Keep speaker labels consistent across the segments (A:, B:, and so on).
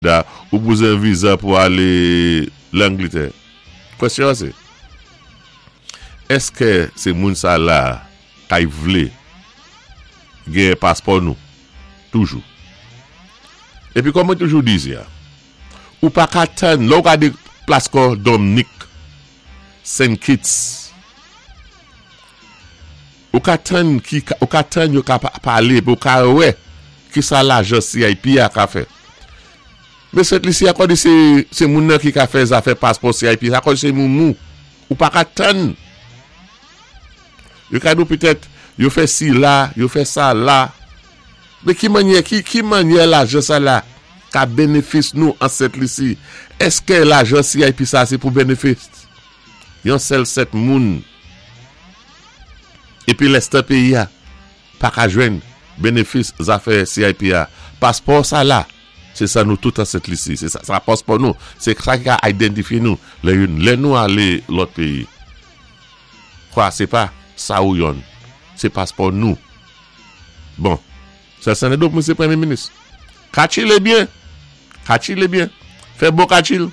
A: Ou bezwen viza pou alé Langlitè. Kwèsyon an sé, èskè sé moun sa la kay vlé genyen paspò nou toujou? Épi kòm mwen toujou di isi a, ou pa ka tann, lè ou gadé plas kò Domnik, Saint Kitts, ou ka tann ki, ou ka tann yo ka palé épi ou ka wè kisa lajan CIP a ka fè. Men Sent Lisi a kòdi se se moun nan ki ka fè zafè paspò CIP sa kòdi se moumou. Ou pa ka tann. Yo ka di w petèt yo fè si la, yo fè sa la. Men ki mannyè ki ki mannyè lajan sa la ka benefis nou an Sent Lisi? Eske lajan CIP sa se pou benefis yon sèl sèt moun epi lèstan peyi a pa ka jwenn benefis zafè CIP a? Paspò sa la. Se sa nou tout an Sent Lisi. Se sa paspò nou. Se sa ki ka idantifye nou lè youn lè nou ale lòt peyi. Kwa se pa sa ou yonn. Se paspò nou. Bon. Sè Sènèdok mwen se premye minis. Kachile byen. Kachile byen. Fè bon kachil.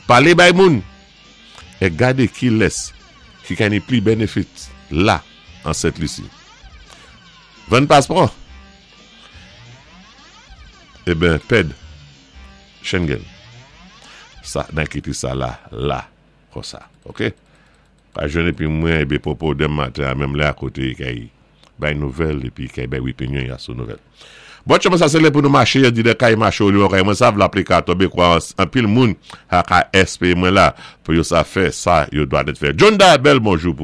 A: Pale bay moun. E gade kilès ki ka ni pli benefit la an Sent Lisi. Vann paspò. Eben pèd Schengen sa nan kite sa la la konsa ok pa jwenn epi mwen ebe popo dem maten a menm lè a kote kay bay nouvèl epi kay bay wipinyon ya sou nouvèl bon tchouman sa se lè pou nou mache yo di lè kay mache ou li kay mwen sa vla pli ka tonbe kwa anpil moun ha ka espere mwen la pou yo sa fè sa yo dwa nèt fè John da bèl bonjou pou.